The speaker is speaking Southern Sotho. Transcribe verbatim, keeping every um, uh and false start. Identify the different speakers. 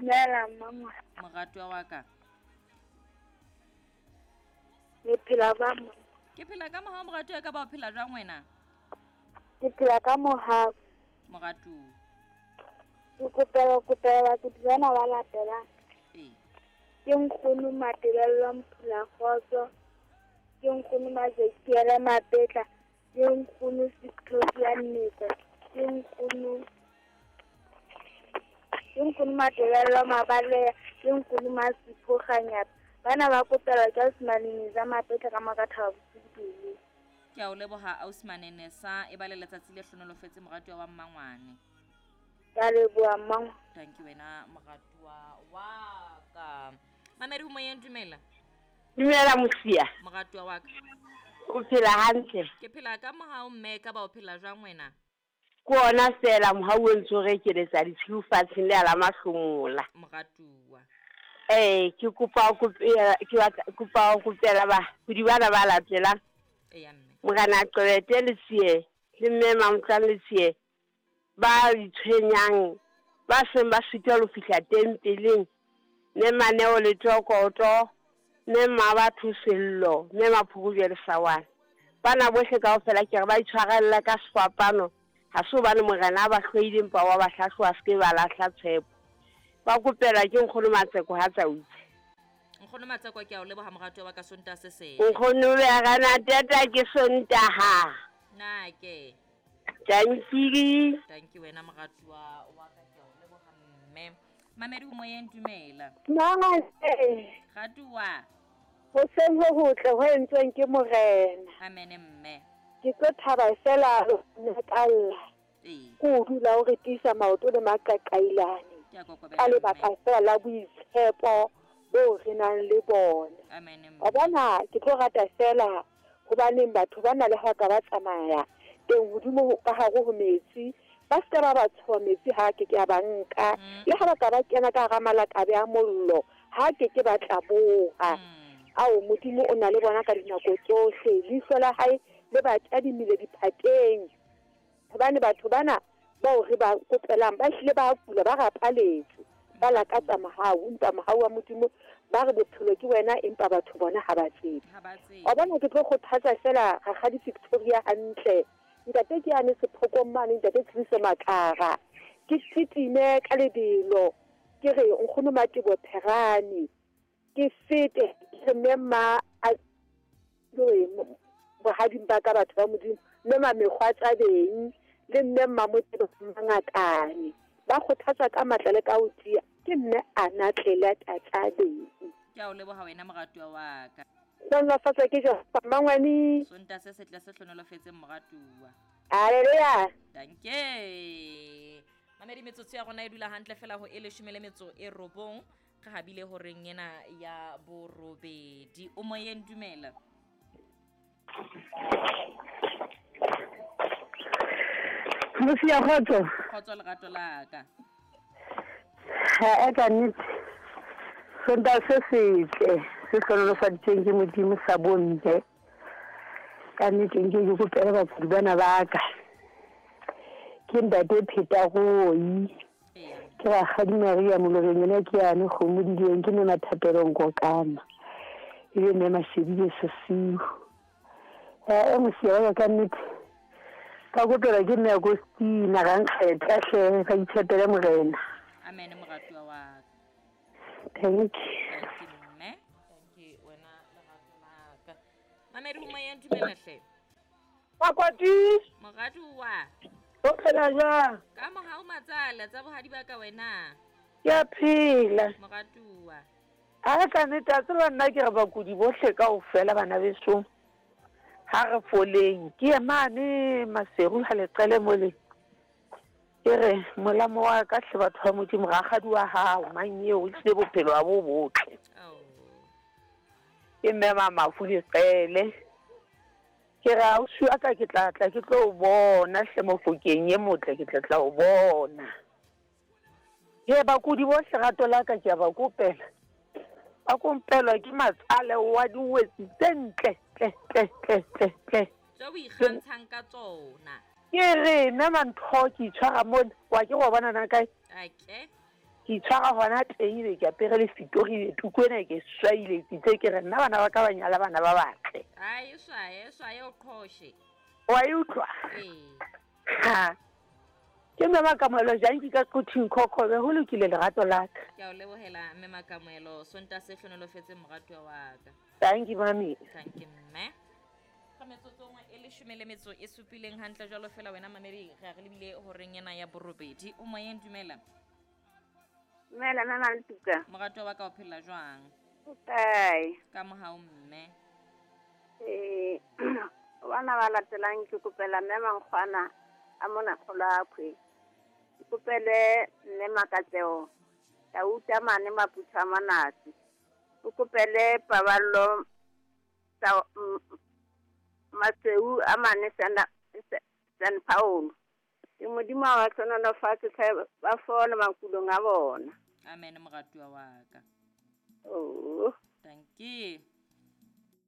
Speaker 1: Dumela mama.
Speaker 2: Moratuwa wa ka.
Speaker 1: Le phela ba mo.
Speaker 2: Ke phela ka mohau moratuwa ka ba o phela jwang wena?
Speaker 1: Ke phela ka mohau.
Speaker 2: Moratuwa.
Speaker 1: Ke kopela kopela ke tsena ba latela.
Speaker 2: Ee.
Speaker 1: Ke nkgono Matebello Mphula Kgotso. Ke nkgono Mazekiele Mapetla. Ke nkgono Victoria Nnete. Ke nkgono Ke nkgono Matebello Mabaleya. Ke nkgono Masipho Kganyapa. Bana ba kopela ke Osmane Neza Mapetla ka Makathaba bosiu.
Speaker 2: Ke a o leboha Osmane Nesa e ba le letsatsi le hlonolofetse moratuwa wa mmangwane.
Speaker 1: Ke a leboha mmangwane.
Speaker 2: Thank you wena moratuwa wa ka. Mamedi ho moyeng, dumela.
Speaker 3: Dumela Mosia.
Speaker 2: Moratuwa wa ka.
Speaker 3: O phela hantle?
Speaker 2: Ke phela ka mohau mme, ka ba o phela jwang wena?
Speaker 3: Ke ona fela mohau o ntso re keletsa ditshiu fatsheng le ala mahlomola.
Speaker 2: Moratuwa.
Speaker 3: Eh, ke kopa o kopela, ke batla kopa o kopela ba kudi bana ba latelang.
Speaker 2: Eya mme.
Speaker 3: Morena Qwete le Tsie, le mme Mamtlang le Tsie ba itshwenyang, ba seng ba sitwa ho fihla tempeleng. Mme Maneo le Tokoto, mme Mmabatho Sello, mme Maphokojwe le Sawana. Bana bohle kaofela ke re ba itshwarella ka sefapano. Ha se hobane morena a ba hloile empa wa ba hlahloba se ke ba lahla tshepo. Ba kopela ke nkgono Matseko ha tsautse.
Speaker 2: Nkgono Matseko ke a o leboha moratuwa wa ka Sontaha se seng.
Speaker 3: Nkgono be rana tata ke Sontaha.
Speaker 2: Na ke.
Speaker 3: Thank you.
Speaker 2: Thank you wena moratuwa wa ka ke a o leboha mme. Mamedi moyeng, dumela.
Speaker 4: Mama.
Speaker 2: Ratuwa.
Speaker 4: Hoseng ho hotle ho entsweng ke morena.
Speaker 2: Amen mme.
Speaker 4: Ke tlo thaba fela ntakalla.
Speaker 2: Ee.
Speaker 4: Ko dula o re tiisa maoto le maqaqailane.
Speaker 2: Ke a kokobela.
Speaker 4: Ka lebaka fela la boitshepo bo re nang le bona.
Speaker 2: Amen mme.
Speaker 4: Wa bona ke tlo rata fela hobaneng batho ba na le ha ka ba tsamaya teng hodimo ka hare ho metsi. Ba se ba ba tshoha metsi ha ke ke a ba nka. Le ha ba ka ba kena ka hara malakabe a mollo ha ke ke ba tlaboha. Ao Modimo o na le bona ka dinako tsohle. Leihlo la hae le ba tadimile diphateng. Hobane batho bana bao re ba kopelang ba hlile ba kula ba rapaletse. Ba lakatsa mohau, empa mohau wa Modimo ba re bophelo ke wena empa batho bona ha ba tsebe.
Speaker 2: Ha ba tsebe.
Speaker 4: Wa bona ke tlo kgothatsa fela Rakgadi Victoria hantle. Ntate ke ane sephokong mane, ntate Tshediso Makara. Ke titime ka lebelo. Ke re nkgono Matebo Pherane. Ke fete ke mme ma a bohading ba ka batho ba Modimo, mme ma mekgwa tsa beng le mme mma Motebo Mangakane. Ba kgothatsa ka matla le ka ho tiya. Ke mme Anatlele Tatsabeng.
Speaker 2: Ke a o leboha wena moratuwa wa ka.
Speaker 4: Hlonolofatsa ke Jehova mmangwane.
Speaker 2: Sontaha se setle se hlonolofetseng moratuwa.
Speaker 4: Haleluya.
Speaker 2: Danke. Mamedi metsotso ya rona e dula hantle fela ho e leshome le metso e robong. Re habile horeng ena ya borobedi. O moyeng, dumela.
Speaker 5: Mosia kgotso.
Speaker 2: Kgotso lerato la ka.
Speaker 5: Ha e ka nnete. Sontaha se setle se hlonolofaditsweng ke Modimo sa bomme. Ka nnete nke ke kopele bakudi bana ba ka. Ke ntate Phetagoi. Ke Rakgadi Maria Moloreng ena ke yane kgomo dileng ke mme Mathapelong Kokana. Ebe mme Mashebile Sesiu. Eh Mosia wa ka nnete. Ka kopela ke mme Agostina ga nkgetha hle ka itshepele morena.
Speaker 2: Amen moratuwa wa ka.
Speaker 5: Thank you.
Speaker 2: Thank you mme. Thank you wena lerato la ka. Mamedi ho moyeng, dumela hle.
Speaker 6: Makoti.
Speaker 2: Moratuwa.
Speaker 6: O phela jwang?
Speaker 2: Ka mohau matsala tsa bohadi ba ka wena.
Speaker 6: Ke a phela.
Speaker 2: Moratuwa.
Speaker 6: Ha ka nnete a tseba nna ke re bakudi bohle kaofela bana beso. Ha re foleng ke ye mane Maseru ha leqele mole. Ke re molamo wa ka hle batho ba Modimo rakgadi wa hao mang eo o tlile bophelo ba bo botle. Ke mme Mamafu Leqele. Ke re ausi wa ka ke tla tla ke tlo o bona hle Mofokeng e motle ke tla tla o bona. Ke bakudi bohle rato la ka ke a ba kopela. Ba kompelwa ke matsale wa diwetsi tse ntle tle tle tle tle tle.
Speaker 2: Tse o ikgantshang ka tsona.
Speaker 6: Ke re nna mantho ke itshwara mona wa ke go bona na kae?
Speaker 2: Okay.
Speaker 6: Ke itshwara hona teng ebe ke apere le fitori tuku ena ke swaile ke itse ke re nna bana ba ka ba nyala bana ba batle.
Speaker 2: Ai e swaye e swaye o qhoshe.
Speaker 6: Wa e utlwa?
Speaker 2: Ee.
Speaker 6: Ha. Ke mme Makamohelo jang ke ka Quthing Khokhobe ho lokile lerato la ka.
Speaker 2: Ke a o lebohela mme Makamohelo Sontaha se hlonolofetseng moratuwa wa ka.
Speaker 6: Thank you mami.
Speaker 2: Thank you mme. Ka metsotsong e leshome le metso e supileng hantle jwalo fela wena mamedi re a re lebile horeng ena ya borobedi. O moyeng dumela.
Speaker 7: Dumela mme Maletuka.
Speaker 2: Moratuwa wa ka o phela jwang?
Speaker 7: O kae?
Speaker 2: Ka mohau mme.
Speaker 7: Eh bana ba latelang ke kopela mme Mankgwana a mona Kgolwakhwe. Ke kopele mme Makatseo Tauta mane Maputha a Manase. Ke kopele Paballo tsa Maseu a mane San San Paulo. Ke Modimo a ba hlohonolofatse tlhe ba fole makulong a bona.
Speaker 2: Amen moratuwa wa ka.
Speaker 7: Oh.
Speaker 2: Thank you.